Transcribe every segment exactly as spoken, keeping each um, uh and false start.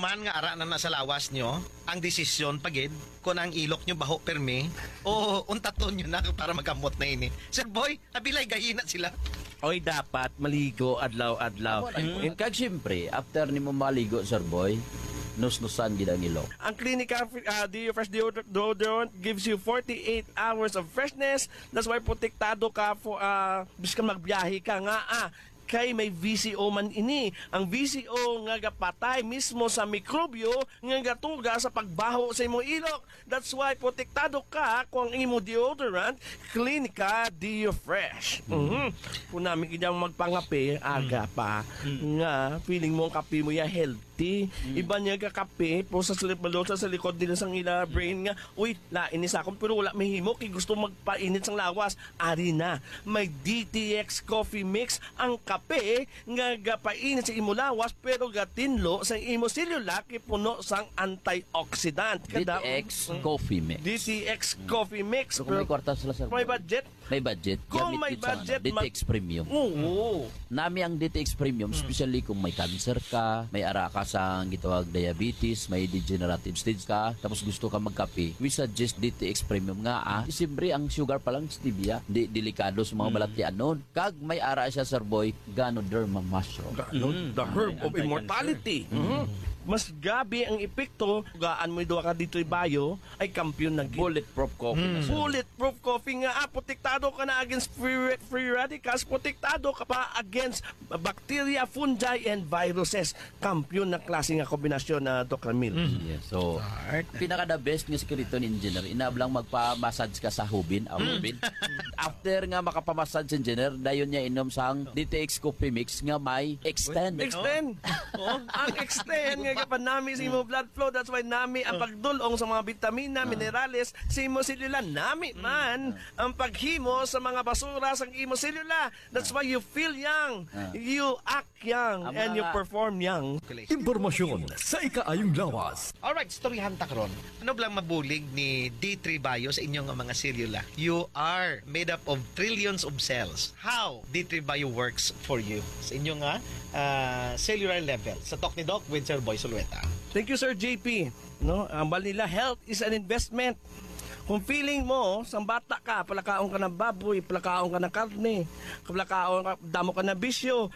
Man nga ara na na sa lawas nyo, ang desisyon pa gid kung ang ilok nyo baho permi o untaton nyo na para magamot na ini. Sir Boy, abilay gahina sila. Oy, dapat maligo adlaw-adlaw. Amo na yun. And kag siyempre, after nimo maligo, Sir Boy, nusnusan gid ang ilok. Ang Clinica, ah, Deo Fresh Deodor-, Deodorant gives you forty-eight hours of freshness. That's why protektado ka for, ah, bisan magbiyahe ka nga, ah, kay may V C O man ini. Ang V C O nga gapatay mismo sa mikrobyo nga gatuga sa pagbaho sa imong ilok. That's why protektado ka kung ang imo deodorant, Clinica Deo Fresh. Mhm. Kung nami kanya magpangape, aga pa, nga feeling mo ang kape mo ya healthy. Iban niya ka kape, po sa slip sa likod nila sang ila brain nga, "Uy, lain ni sa akon, pero wala mahimo kay gusto magpainit sang lawas." Ari na, may D T X Coffee Mix, ang kape nga gapainit sa imo lawas pero gatinlo sa imo selula kay puno sang antioxidant. Kada- D T X Mm. Coffee Mix. D T X Coffee Mix. So, kung may kwarta sila, sir, may budget? May budget. Kung may budget, D T X mag- Premium. Oo. Nami ang D T X Premium, Mm. especially kung may cancer ka, may ara ka sa gitawag diabetes, may degenerative stage ka, tapos gusto ka magkape, we suggest D T X Premium nga, ah, siyempre ang sugar pa lang stevia, di delikado sa mga Mm. balatianon. Kag may ara siya, Sir Boy, Ganoderma mushroom. Gano-, Mm. the herb May of anti-cancer. immortality. Mm. Mhm. Mas gabi ang epekto. Gaan mo duha ka D three Bio, ay kampiyon na gid. Bulletproof coffee na, Mm. sir. Bulletproof coffee nga, ah, protektado ka na against free, free radicals, protektado ka pa against bacteria, fungi, and viruses. Kampiyon na klase nga kombinasyon na, Doc Ramil. Mm. Yes, so, Art. pinaka the best nga sikreto ni Engineer, inablang magpa-massage ka sa hubin, ang Mm. hubin. After nga makapamassage si Engineer, dayon niya inom sang D T X Coffee Mix nga may extend. Extend. Oh, ang extend nga gapanami sa imo blood flow. That's why nami ang Oh. pagdulong sa mga bitamina, Ah. minerales sa imo selula. Nami Mm. man ang paghimo sa mga basura sa imo selula. That's Ah. why you feel young. Ah. You act young Ang and you mga perform young. Impormasyon sa ikaayong lawas. Alright, istoryahan ta karon. Ano bala ang mabulig ni D three Bio sa inyo nga mga selula? You are made up of trillions of cells. How D three Bio works for you sa inyo nga, ah, cellular level? Sa talk ni Doc with Sir Boy Sulueta. Thank you, Sir J P. No, ang bal nila, health is an investment. Kung feeling mo, sang bata ka, palakaon ka ng baboy, palakaon ka ng karne, palakaon ka, damo ka na bisyo,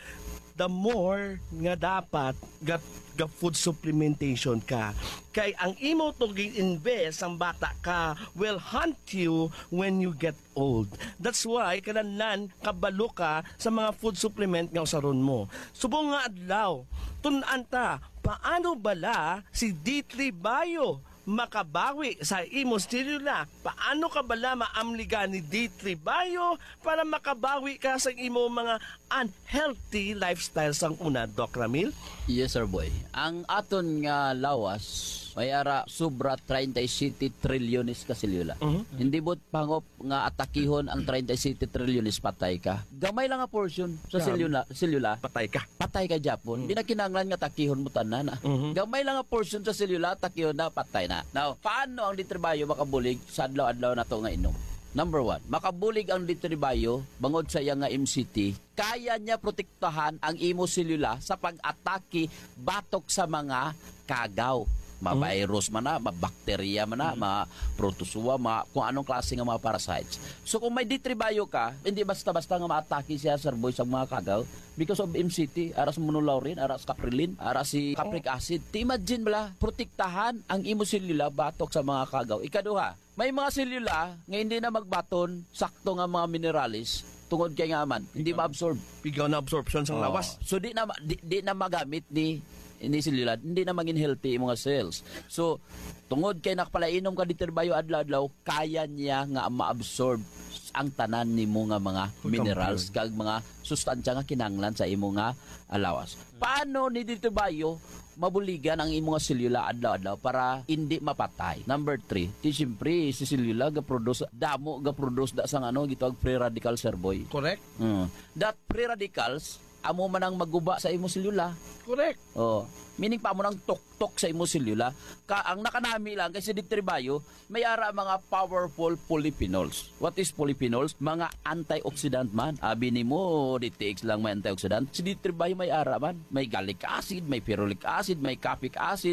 the more nga dapat ga, ga food supplementation ka. Kay ang imo to gi-invest sang bata ka will haunt you when you get old. That's why kinahanglan kabalo ka sa mga food supplement nga usaron mo. Subong nga adlaw, tun-an ta, paano bala si D three Bio makabawi sa imo selula? Paano ka bala maamligan ni D three Bio para makabawi ka sa imo mga unhealthy lifestyle sang una, Doc Ramil? Yes, sir boy. Ang aton nga lawas, may ara sobra treinta y siete trilyones ka selula. Mhm. Hindi mo pangop nga atakihon ang treinta y siete trilyones, patay ka. Gamay lang nga portion sa Grabe. selula, selula. Patay ka. Patay ka, Japon. Mm. Di na kinahanglan nga atakihon mo tanan, ah. Mhm. Gamay lang nga portion sa selula, atakihon na, patay na. Now, paano ang D three Bio makabulig sa adlaw-adlaw nato nga inom? Number one, makabulig ang D three Bio bangod sa iya nga M C T. Kaya niya protektahan ang imo selula sa pag-atake batok sa mga kagaw. Ma-, Mm. virus man na, ma-, bacteria man na, Mm. ma-, protozoa, ma-, kung anong klase nga mga parasites. So, kung may D three Bio ka, hindi basta-basta nga maatake siya, sir boy, sa mga kagaw because of M C T, ara sa monolaurin, ara sa caprilin, ara si capric Oh. acid. Ti imagine bala, protektahan ang imo selula batok sa mga kagaw. Ikaduha, may mga selula nga hindi na magbaton sakto nga mga minerales tungod kay nga man, hindi Pigaw. ma-absorb. Pigaw na absorption sa Oh. lawas. So, di na ma-, di, di na magamit ni, ni selula, hindi na maging healthy imong cells. So, tungod kay nakapalainom ka D three Bio adlaw-adlaw, kaya niya nga ma-absorb ang tanan nimo nga mga Good minerals compound. kag mga sustansya nga kinahanglan sa imo nga lawas. Paano ni D three Bio mabuligan ang imo nga selula adlaw-adlaw para hindi mapatay? Number three, ti siyempre, si selula ga-produce, damo ga-produce da sang ano, gitawag free radical, sir boy. Correct. Mm. That free radicals, amo man ang maguba sa imo selula. Correct. Oh, meaning pa mo nang tuktok sa imo selula. Ka, ang nakanami lang kay si D three Bio, may ara mga powerful polyphenols. What is polyphenols? Mga antioxidant man. Abi nimo, D T X lang may antioxidant. Si D three Bio may ara man. May gallic acid, may ferulic acid, may capic acid,